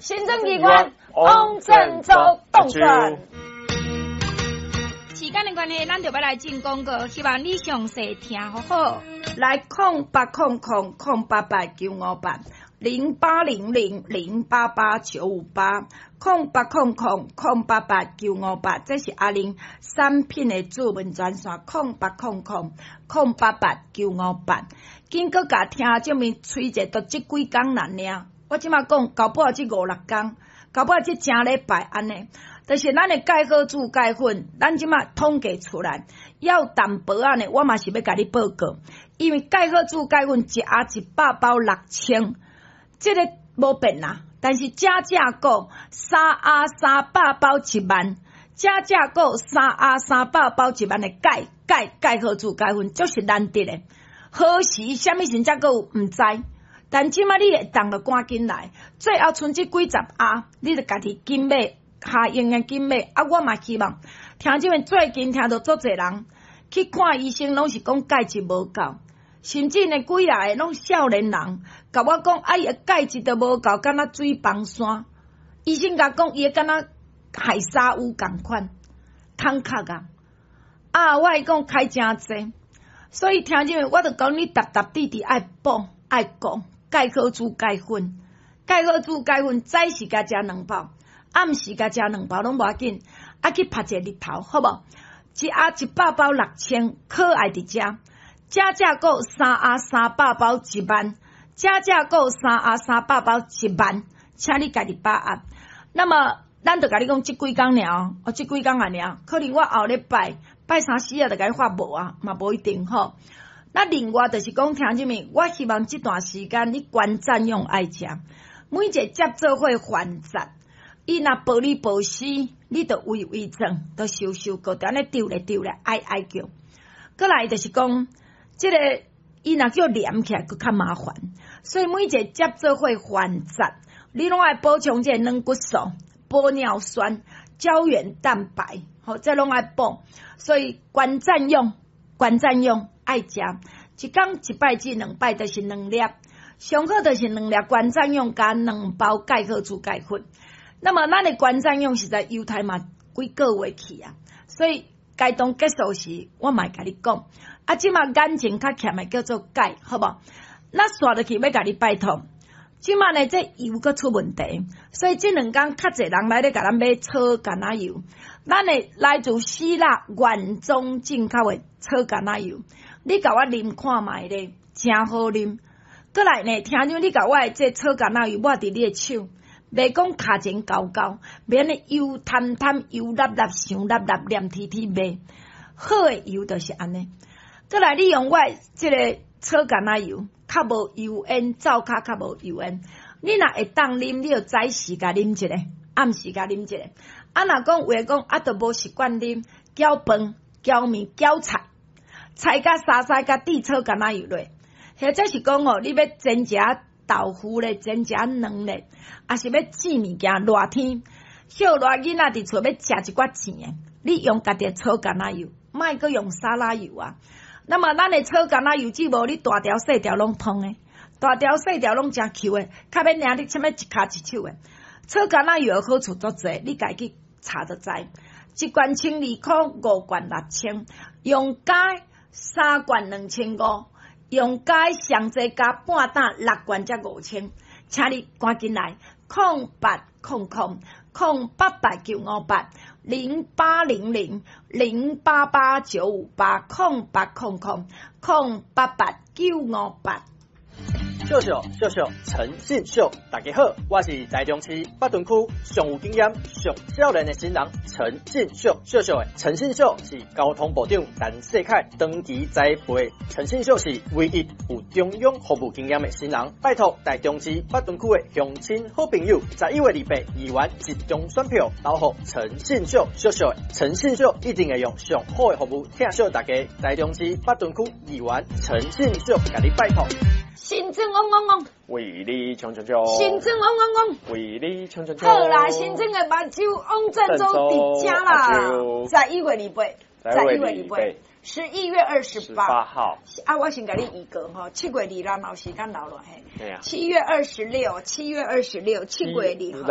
行政機關王振洲動轉。時間的關係，咱就欲來進廣告，希望你詳細聽好好。來080000088958，0800088958，080000088958，這是阿玲產品的諮詢專線，080000088958。緊閣共聽眾們催者，都這幾工爾爾。我這馬講，搞不好這五六工，搞不好這誠禮拜按呢。就是咱的鈣好煮鈣粉，咱這馬統計出來，要淡薄仔呢，我嘛是欲共你報告，因為鈣好煮鈣粉一盒100包6000，這个無變啦。但是加價購三盒300包1萬，加價購三盒300包1萬的鈣鈣鈣好煮鈣粉，就是難得的。何時啥物時才閣有毋知？但這馬你會當就趕緊來，最後賰這幾十盒，你就家己緊買，下用的緊買。啊，我嘛希望聽這邊最近聽著足濟人去看醫生，攏是講鈣質無夠，甚至呢幾若个攏少年人，共我講啊，伊的鈣質都無夠，敢若水崩山。醫生共講，伊敢若海砂屋仝款，空殼啊！啊，我會講開誠濟，所以聽這邊我就講你沓沓滴滴愛補愛顧。鈣好煮鈣粉，鈣好煮鈣粉，早時共食兩包，暗時共食兩包攏無要緊。啊，去曝一个日頭，好無？一盒100包6000，可愛佇遮，加價購三盒300包1萬，加價購三盒三百包一萬，請你家己把握。那麼，咱就共你講，這幾工爾，哦，這幾工爾，可能我後禮拜拜三四仔就共你發無啊，嘛無一定吼。那另外就是講，聽啥物？我希望這段時間你觀察用愛食，每一個接做伙煩雜，伊若報你報死，你就微微轉，就收收過，按呢丟咧丟咧，哀哀叫。閣來就是講，這個伊若叫黏起來，閣較麻煩。所以每一個接做伙煩雜，你攏愛補充這個軟骨素、玻尿酸、膠原蛋白，吼，這攏愛補。所以關讚用，關讚用。愛食一工一擺至兩擺，就是兩粒，上好就是兩粒關讚用加兩包鈣好煮鈣粉。那麼咱的關讚用實在猶太嘛幾個月去啊，所以該當結束時，我嘛會共你講。啊，這馬眼睛較欠的叫做鈣，好無？咱紲落去欲共你拜託。這馬呢，這油閣出問題，所以這兩工較濟人來咧共咱買草橄欖油。咱的來自希臘原裝進口的草橄欖油。你共我啉看覓咧，誠好啉。閣來呢，聽講你共我的這草橄欖油抹佇你的手，袂講跤前厚厚，袂按呢油澹澹、油粒粒、傷粒粒、黏貼貼袂。好的油就是按呢。閣來，你用我的這个草橄欖油，較無油煙，灶跤較無油煙。你若會當啉，你就早時共啉一个，暗時共啉一个。啊，若講有的講啊，都無習慣啉，攪飯、攪麵、攪菜。菜佮沙沙佮滴草橄欖油落，或者是講吼，你欲煎一下豆腐咧，煎一下卵咧，抑是欲煮物件，熱天歇熱囡仔佇厝欲食一寡甜的，你用家己的草橄欖油，莫閣用沙拉油啊。那麼咱的草橄欖油只無你大條細條攏通的，大條細條攏誠 Q 的，較免領你啥物一跤一手的。草橄欖油的好處足濟，你家己查就知。一罐1200塊，五罐6000，用加三罐2500，用加上濟加半擔六罐才5000，請你趕緊來080008895808000889580800088958。秀秀秀秀陳信秀，大家好，我是台中市北屯區上有經驗、上少年的新人陳信秀。秀秀的陳信秀是交通部長陳世凱長期栽培，陳信秀是唯一有中央服務經驗的新人。拜託台中市北屯區的鄉親好朋友，11月28議員集中選票投予陳信秀。秀秀的陳信秀一定會用上好的服務疼惜大家。台中市北屯區議員陳信秀，共你拜託。新莊嗡嗡嗡，為你衝衝衝！新莊嗡嗡嗡，為你衝衝衝！好啦，新莊的目睭王振洲佇遮啦，11月28，十一月二八，11月28。 8號。啊，我先共你預告吼，7月2日有時間留落嘿。對啊。七月二十六，七月二十六，七月二號。